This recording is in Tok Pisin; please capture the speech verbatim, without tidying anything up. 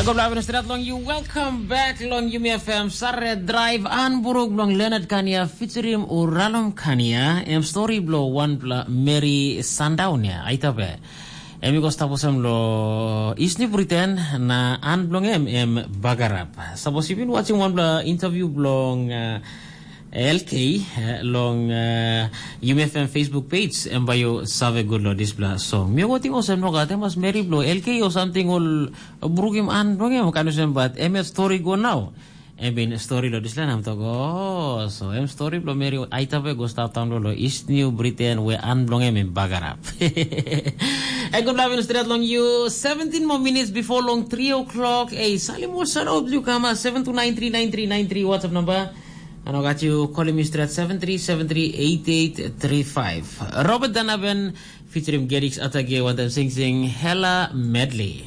Go bla stret long you. Welcome back long Yumi F M Sare Drive an buruk bilong Leonard Kania featuring Uralom Kania. Em story bilong wanpela Mary Sundown ya, aitabe. Em i go stap olsem lo Isni Britain na an bilong em em Bagarap. Sapos you been watching wanpela interview bilong uh, L K uh, long uh, Yumi F M Facebook page, em bai you save good lo dispela song. Mi go ting olsem no gat em as Mary bilong L K or something ol brukim an bilong em kan olsem, but em yet story go nau. Em bin story lo dispela nam tok, oh, so em story bilong Mary aitabe go stap taun lo East New Britain we an bilong em em Bagarap. E good luck stret long you. Seventeen more minutes before long three o'clock. Hey, salim mo shout out you kama seven two nine three nine three nine three WhatsApp number. And I got you calling me straight seven three seven three eight eight three five. Robert Danaben featuring Gerix Atage one time sing sing Hella Medley.